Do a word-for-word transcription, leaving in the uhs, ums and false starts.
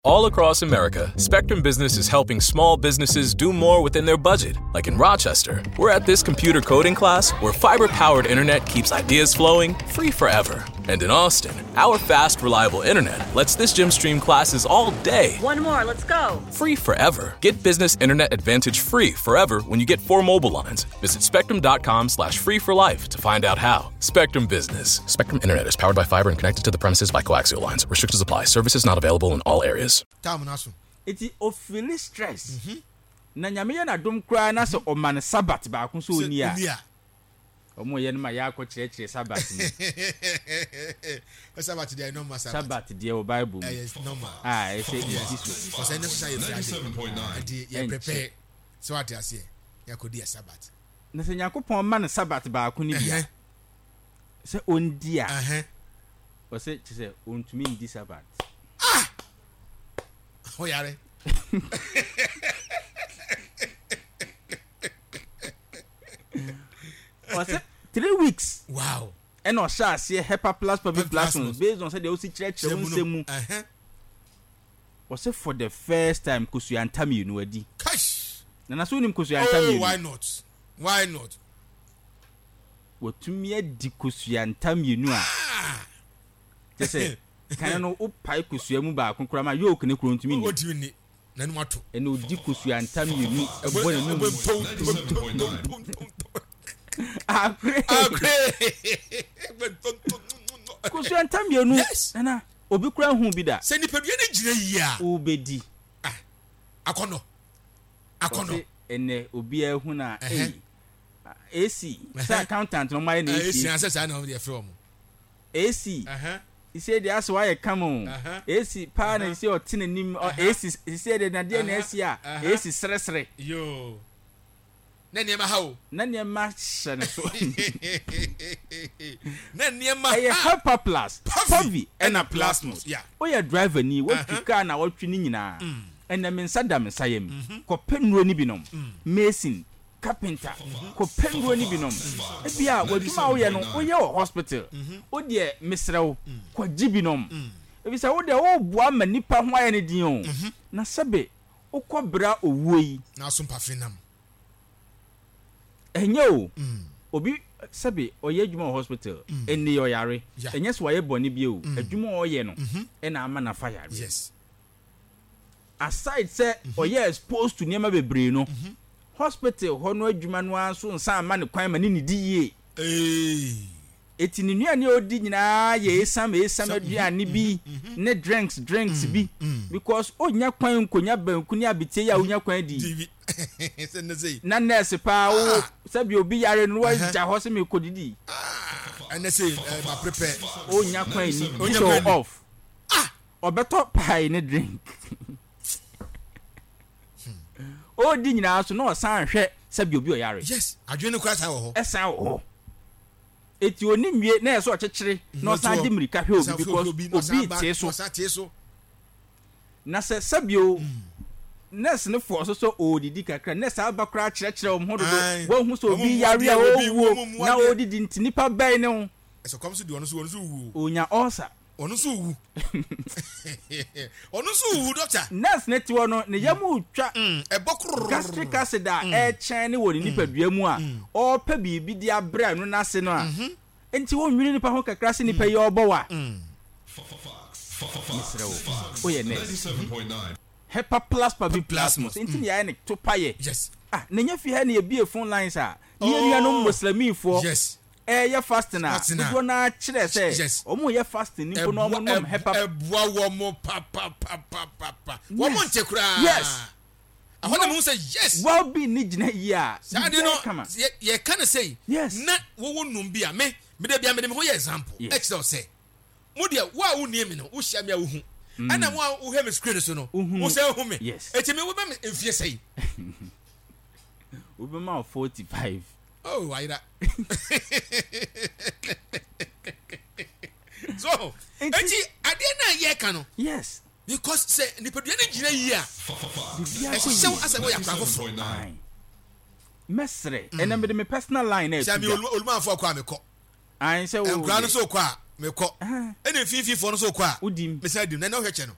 All across America, Spectrum Business is helping small businesses do more within their budget. Like in Rochester, we're at this computer coding class where fiber powered internet keeps ideas flowing free forever. And in Austin, our fast, reliable internet lets this gym stream classes all day. One more, let's go. Free forever. Get business internet advantage free forever when you get four mobile lines. Visit spectrum.com slash free for life to find out how. Spectrum Business. Spectrum Internet is powered by fiber and connected to the premises by coaxial lines. Restrictions apply. Services not available in all areas. Time no aso. Eti ofeeli stress. Na Nyame yɛ n'adom koraa na sɛ ɔma no Sabbath baako sɛ ɔnni a, Sɛ ɔnni a. Ɔmo yɛ no ma yɛakɔ kyerɛkyerɛ Sabbath mu. Sabbath deɛ normal Sabbath. Sabbath deɛ wɔ Bible mu. Ɛyɛ normal. A ɛsɛ yɛdi so. Kɔsɛ ɛnɛ sosa yɛ Friday. Nti yɛ Ɛnkyɛ. prepare sɛ wate aseɛ yɛakɔdi yɛ Sabbath. Na sɛ Nyankopɔn ma no Sabbath baako no bi a, Ɛhɛn. sɛ ɔndi a, Ɛhɛn. ɔsɛ kyerɛ sɛ ɔntumi ndi Sabbath. Ah! Ɔyare. Ɔsɛ three weeks. Wow. Ɛna ɔhyɛ aseɛ Hepa Plus Public Plasmos based on sɛdeɛ wosi kyerɛkyerɛ wo nsɛm mu. Ɔsɛ for the first time kosua nta mmienu adi. Kash. Nana so wonim kosua nta Oh, mmienu? why not? Why not? Watumi adi kosua nta mmienu a. Ah! Kyɛ sɛ kane no wopae kosua mu baako koraa ma yolk ne kuro ntumi nni. Ɔntumi nni. N'anum ato. Ɛna odi kosua nta mmienu ɛbɔ n'anum. Akore. Akore. Kosua nta mmienu. Yes. Nana obi kura hu bi da. Sɛ nipadua no gyina yie a. Wobɛdi. Ah, akɔnɔ. Akɔnɔ. Ɔse ɛnɛ obiara hu na Ɛhɛ. ɛyi. A C sɛ accountant na ɔmo ayɛ na A C. A C. Asɛ saa na ɔmo de ɛfrɛ ɔmo. A C. Ɛhɛ. Sise deɛ asɛ wayɛ kama o. Ɛhɛ. A C paa na sise ɔte n'anim ɔ A C sise deɛ nadeɛ na Ɛhɛ. asi a Ɛhɛ. A C seresere. Yoo. Na nneɛma ha o. Na nneɛma hyɛ ne so. Na nneɛma Ɛyɛ ha. Hepa Plus, Pavi Pavi ɛna ɛna Plasmos. Plasmos. Yeah. Woyɛ driver ni, watwi Ɛhɛ. kaa na watwi ne nyinaa. Ɛnɛ me nsa da me nsa yam. Kɔpɛ nnuro no bi nom. Mason, carpenter, kɔpɛ nnuro no bi nom. Ebia w'adwuma a woyɛ no, woyɛ wɔ hospital. Wo deɛ mesrɛ wo, kɔgye bi nom. Efisɛ wo deɛ woboa ma nipa ho ayɛ ne den o. Na sɛbe wokɔ bra owuo yi. Na aso mpafe nam. Ɛnyɛ o. Obi sɛbe ɔyɛ adwuma wɔ hospital, ɛnni ɔyare. Yeah. Ɛnyɛ sɛ wayɛ bɔne bi o. Adwuma a ɔyɛ no ɛna ama nafa yare. Yes. Aside sɛ ɔyɛ exposed to nneɛma bebree no, hospital hɔ no adwuma no ara nso nsa ama ne kwan ma ne ne di yie. Ee. Eti ne nnuane a ɔdi nyinaa yɛ esam esam aduane bi ne drinks drinks bi because onya kwan nkonya banku ne abetie yi a onya kwan di. T V. Sɛ ne sɛ. Na nurse paa wo sɛbi obi yare no wagya hɔ sɛ mekɔ didi. Ɛnɛ sɛ ɛ ma prepare. Onya kwan ni Onya so kwan ni. Off. Ɔbɛtɔ pie ne drink. Ɔdi nyinaa so na ɔsan hwɛ sɛbi obi ɔyare. Yes. Adwene no kora saa wɔ hɔ. Ɛsan wɔ hɔ. Eti oni nwie na yɛ sɛ ɔkyekyere na ɔsan de mirika hwɛ obi because obi tee so. Ɔsan tee so. Na sɛ sɛbio nurse ne fɔ so sɛ ɔɔdidi kakra, nurse aba koraa kyerɛkyerɛ wɔn ho dodo Aye. wɔn ho sɛ Wɔn obi mu yare a adeɛ, obi- ɔwuo wɔn mu na adeɛ. ɔɔdidi nti nipa bɛn ne ho. Ɛsɛ kɔm so di ɔno so, ɔno so wu. Onya ulcer. Ɔno nso wu. Ɔno nso wu, doctor. Nurse ne te hɔ no ne yam retwa. Ɛbɔ koror. Gastric acid a ɛkyɛn ne wɔ ne nipadua mu a ɔrepɛ biribi de abrɛ no n'ase no a nti wɔnwene nipa ho kakra sɛ nipa yi ɔrebɔ wa. Mesrɛ wo, woyɛ nurse, Hepa Plus Pavi Plasmos nti ne yɛayɛ ne to payɛ. Yes. Ah, na nya fi ha ne yɛbie phone lines a ne yɛn nuanom Muslimifoɔ Yes. ɛyɛ fasting a Fasting a. dodoɔ naa kyerɛ sɛ Yes. ɔmo yɛ fasting ni mpo na ɔmo nom Hepa. Ɛboa wɔn mo papapapapa. Wɔn mo nte koraa. Yes. Ɛhɔ na mo sɛ yes. Well being ne gyina yie a Saa de no biribiara kama. yɛ yɛka ne sɛ. Yes. Na wɔwɔ num bi a me me de bia me de me ho yɛ example. Yes. Ɛkyerɛ wo sɛ mo deɛ wo a wo nie mi no, wo hyia mi a wo hu. Ɛna mo a wohwɛ mi screen so no, Wohu. wo sɛ wohu mi. Yes. Eti mi wo bɛ mi mfie sɛyi? Wobɛma wo forty five. Oh, ayira. So eti adeɛ naa yɛ ka no. Yes. Because sɛ nipadua no gyina yie a, Biribiara kɔ ɛhyehyɛ wo yie. asɛ wɔyɛ akora foforɔ. Aye. Mɛsrɛ ɛnna mede me personal line na sɛ ɛto mi dwa. Olumanfoɔ kɔ a mekɔ. Ayi sɛ wo nkura no so kɔ a mekɔ, ɛna mfimfinfoɔ no so kɔ a wodim. Mesan dim na ɛna ɔhwɛ kyɛ no.